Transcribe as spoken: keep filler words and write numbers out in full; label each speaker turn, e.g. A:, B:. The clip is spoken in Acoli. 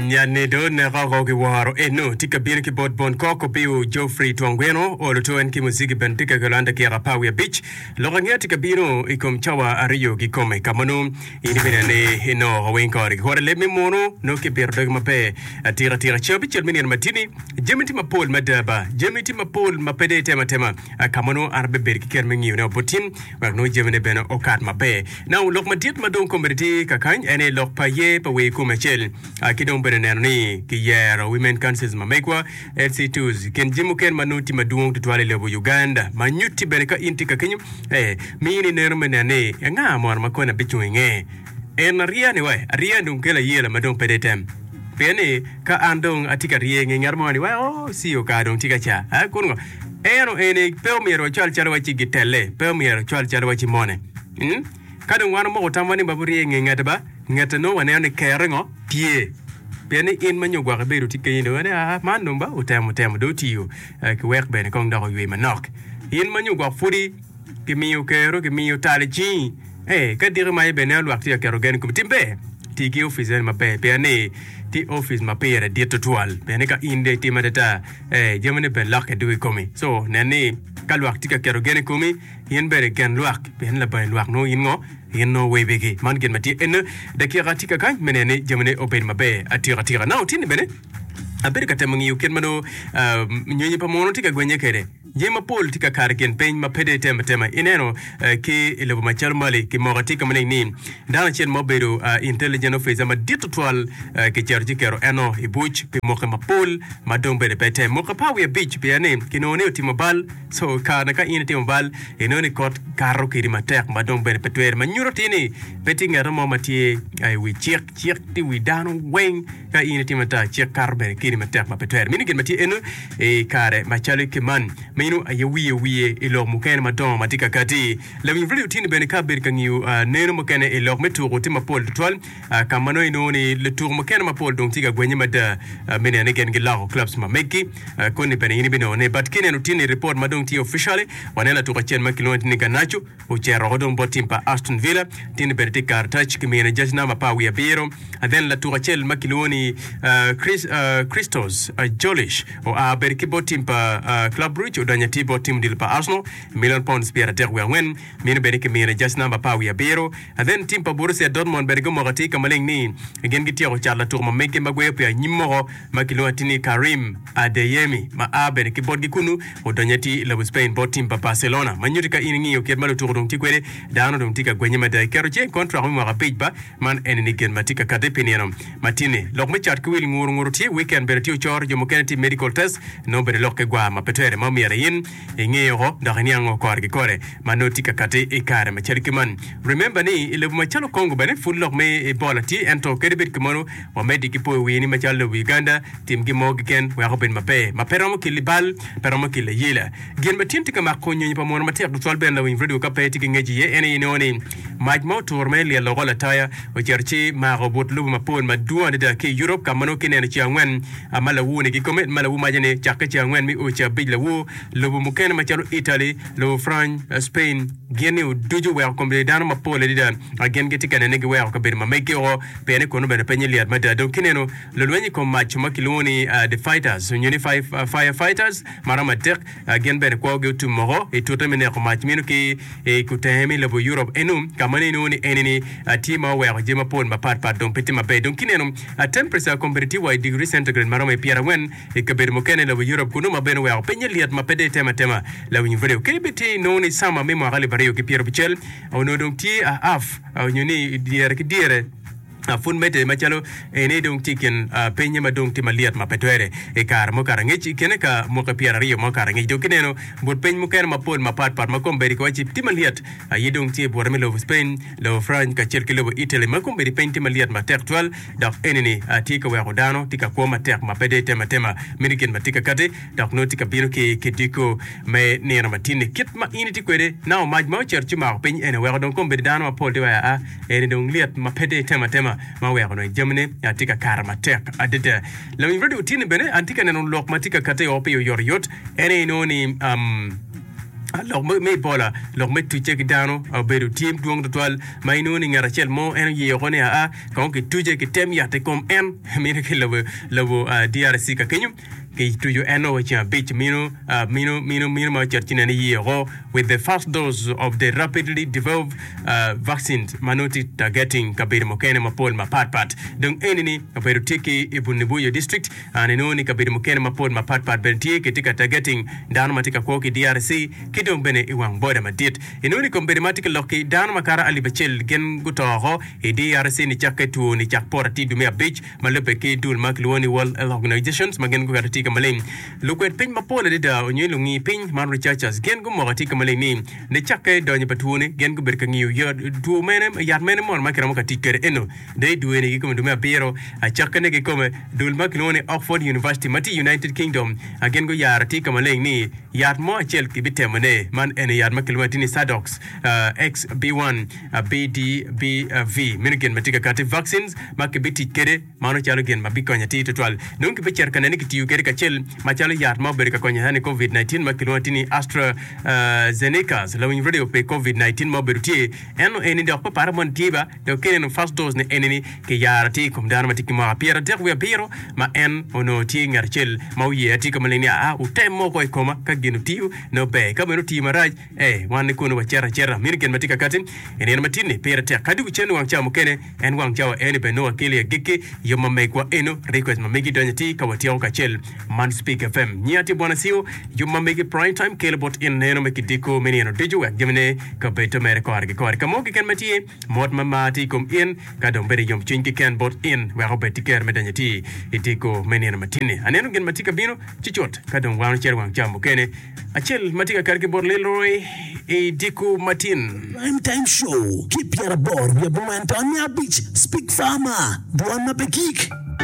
A: Nyani do neko oko ki woro eno tye ka bino ki bot bon kok opiu Geoffrey Twangweno olo to en ki muziki bene tye ka kelo an dakika apar wiye abic lok angeya tye ka bino i kom cawa aryo kikome ka ma nongo in ibineno ni inongo oko weng kore ki kore leb me munu nongo kibito dogi maber atika tika ceng abicel me nino matini jami tye mapol mada ba jami tye mapol ma pe dong itemo atema ka ma nongo an abibedo ki kero me ngiyone wa bot tin wek nongo jamine bene okat maber. Now lok madit ma dong kombeddi tye kakany en aye lok pa ye pa wer kome acel ki dong bene neno ni kiyero Women Councils ma megwa, L C twos, kin jami mukene ma nongo tye madwong tutwal i lobo Uganda ma nyutti bene ka in tye ka kenyo eh mini neno me neno ni anga mono ma koni abicung inge en ariya ni wai ariya ni dong kelo ayela ma dong pe dong item pien ni ka an dong atye ka rye inge ngat mo ni wai oh C O kara dong tye ka ca eh kun ngo eno eni pe omyero wacwal calo waci gitelle pe omyero ocwal calo waci mone. Ka dong wan omoko tamwa ni wabirye i nge ngete ba, ngete nongo waneno ni kerre ngo? Tye. Pien ni in ma nyo gwok ibedo tye kenyi dong ni aa man dong ba otemo temo dong otiyo ki wek bene kong dok oywe manok. In ma nyo gwok pudi kimiyo kero kimiyo tal i cingi ee ka diki maye bene neno lwak tye ka keto gen i komi. Tim ber, ti ki opic eni maber pien ni tye opic ma pire dit tutwal. Pien ni ka in dong itimo adada ee jamine bene lokke dugo i komi. So nen ni ka lwak tye ka keto gen i komi In bene gen lwak, pien labangi lwak nongo in ngo? In nongo webigi. Man gin ma tye ene. Dakika tye kakany me neno ni jamine obedo maber atika tika. Now tinni bene abedo ka temo ngiyo kit ma nongo nyonyo pa muno tye ka gwenye kwede. Jami mapol tye ka kato i kin piny ma pe dong itemo atema. Ineno ki i lobo macalo Mali kimoko atika maleng ni dano acel ma obedo intelligent officer madit tutwal kicito ci keto eno i buc pi mwaki mapol ma dong bene pe tem. Mwaki apar wiye abic pien ni kinongo ni otimo bal. So, kare ka in itimo bal, inongo ni kot kato kedi matek ma dong bene pe twere, ma nyuto atir ni pe tye ngat mo ma tye i wi cik. Cik tye i wi dano weng. Ka in itimo ata, cik kato bene kedi matek ma pe twere. Meno gin ma tye eno i kare macalo ki man. Meno aye wiye wiye i lok mukene madongo ma tye ka kati. Lawiny radio tye ni bene ka abedo ka ngiyo neno mukene i lok me tuko tye mapol tutwal. Ka ma nongo inongo ni lutuku mukene mapol dong tye ka gwenye mada me neno ni gin giloko clubs ma meggi. Koni bene in ibinongo ni but kineno tye ni report ma dong tye officially waneno latuku acel ma kilwongo ni Garnacho ocito woko dong bot team pa Aston Villa tye ni bene tye karatac kimine jac namba apar wiye abiro. Then latuku acel ma kilwongo ni Chris, Christos Jolish oa bene ki bot team pa Club Brugge odonyo atir bot team odilo pa Arsenal million pounds pyeradek wiye angwen. Meno bene kimine jac namba apar wiye abiro. Then team pa Borussia Dortmund bene gumoko atir ka maleng ni gin gityeko cato latuku ma meggi ma gweyo pi anyim moko ma kilwongo atir ni Karim Adeyemi ma a bene ki botgi kunnu odonyo atir i lobo Spain bot tim pa Barcelona. Ma nyutti ka in ingiyo kit ma lutuku dong tye kwede, dano dong tye ka gwenye mada i keto cing i kontrak me mwaka abic ba man eni ni gin ma tye ka kati pi nino ma tye-ni. Lok me cat ki wil nguru nguru tye, weekend bene tye ocoro, jo mukene tye medical test nongo bene lok ki gwar ma pe twere ma omyero in inge oko dok iniang kore ki kore ma nongo tye ka kati i kare macalo ki man. Remember ni i lobo macalo Congo bene pud lok me Ebola tye ento kadi bed kumeno wamedde ki poyo wiye ni macalo lobo Uganda tim gin mo keken wek obed maber ma pe romo keli bal pe romo kelo ayela. Gin ma tin tye ka mako nyonyo pa muno matek tutwal bene lawiny radio ka pe tye ki ngec iye en aye inongo ni mac ma oturo me lyel oko lataya ocito ci mako but lobo mapol madwong adada ki i Europe ka ma nongo kineno ceng angwen ma lawur-ni kikome ma lawur maca ni cakke ceng angwen me o ceng abic lawur lobo mukene macalo Italy, lobo France, Spain gin ni ducu oweko kombeddi dano mapol adada gin gitye ka nene giweko kabedo ma meggi oko pien ni kunu bene penye lyet mada. Dong kineno lulweny i kom mac ma kilwongo ni the fighters nyo ni fire fighters ma romo adek gin bene kwogi otum woko i tute me neko mac meno ki i kutenge me lobo Europe enu ka ma nongo inongo ni enini tye ma oweko jami mapol mapat pat dong pe tye maber. Dong kineno temperature kombeddi tye wa i degree centigrade ma romo i pyerangwen i kabedo mukene i lobo Europe kunu ma bene oweko pinye lyet ma pe dong itemo atema. Lawiny radio kadi bed tye inongo ni sama me mwaka alip aryo ki pyerabicel onongo dong tye a half nyo ni dyere ki dyere pud medde macalo eni dong tye i kin pinye ma dong tye malyet ma pe twere i kare mukato angec i kine ka mwaki pyeraryo ma okato angec. Dong kineno but piny mukene mapol mapatpat ma kombeddi kiwaci tye malyet aye dong tye i bute me lobo Spain, lobo France kacel ki lobo Italy ma kombeddi piny tye malyet matek twal dok enini tye ka weko dano tye ka kwo matek ma pe dong itemo atema meno gin ma tye ka kati dok nongo tye ka bino ki kidiko me nino matin-ni. Kit ma in itye kwede nao mac ma ocito ci omako piny eni oweko dong kombeddi dano mapol tye wai aa eni dong lyet ma pe dong itemo atema ma oweko dong jamine tye ka kato matek adada. Lawiny radio otyeni bene an tye ka neno lok ma tye ka kati o pi oyotoyot en aye inongo ni um, Lok me Ebola, lok me tucce ki dano obedo tye dwong tutwal ma inongo ni ngat acel mo en oye woko ni aa kong kituce kitem yat i kom en mino ki lobo lobo D R C ka kenyo kituco en o ceng abic mino mino mino mino ma ocito ci nene iye woko with the first dose of the rapidly developed vaccines ma nongo tye targeting kabedo mukene mapol mapat pat. Dong eni ni obedo tye ki i Bundibugyo district and inongo ni kabedo mukene mapol mapat pat bene tye kitye ka targeting dano ma tye ka kwo ki D R C ki dong bene i wang boda madit. Inongo ni kombeddi ma atye ka lok ki dano makato alip acel gin guto oko i D R C nicakke two nicak poto atir dwe me abic ma lubbe ki dul ma kilwongo ni World Health Organizations ma gin guketo tye ka maleng. Lukwed piny mapol adada onyo lungi piny man researchers gin gumoko atir ka maleng ni nicakke donyo pa two ni gin gubedo ka ngiyo two mene yat mene mono ma kiromo ka tic kwede eno dong i dwe ni kikome dwe me abiro acakkine kikome dul ma kilwongo ni Oxford University ma tye i United Kingdom gin guyaro atir ka maleng ni yat mo acel kibitemone man eni yat ma kilwongo atir ni Sadox X B one B D B V meno gin ma tye ka kati vaccines ma kibitic kwede mano calo gin ma bikonyo atir tutwal dong kibicito ka nene kitiyo kwede kacel macalo yat ma obedo ka konyo ni COVID nineteen ma kilwongo atir ni AstraZeneca. Lawiny radio pe COVID nineteen ma obedo tye eno eni dok pe paro mon tye ba dok kineno first dose ni eni ni kiyaro atir i kom dano ma tye ki mwaka pyeradek wiye abiro ma en onongo tye ngat acel ma oye atir ka maleng ni aa wutem moko i koma ka gin otiyo nongo ber ka bene otiyo marac eh wan ni kunu wacito acita mino gin ma tye ka kati i nino ma tye-ni pire tek kadi wucen wang cawa mukene en wang cawa eni bene nongo wakelo i agikki yub ma megwa eno request ma megi donyo atir ka watyeko kacel man Speak F M nyiya tye bwana siu yub ma megi prime time kelo bot in neno me kidiko me nino ducu wek jamine kabedo mere kore ki kore ka mo keken ma tye mot ma mar tye i kom in ka dong bedo yomcwiny keken bot in wek obed tye ker me donyo atir i diko me nino matini aneno gin ma tye ka bino ci cut ka dong wan ocito wang cawa mukene acel ma tye ka kati ki bot Leroy i diko matin.
B: Prime Time Show ki pyeraboro wiye abongwen taun miya abic Speak Farmer, dwon ma pe gik.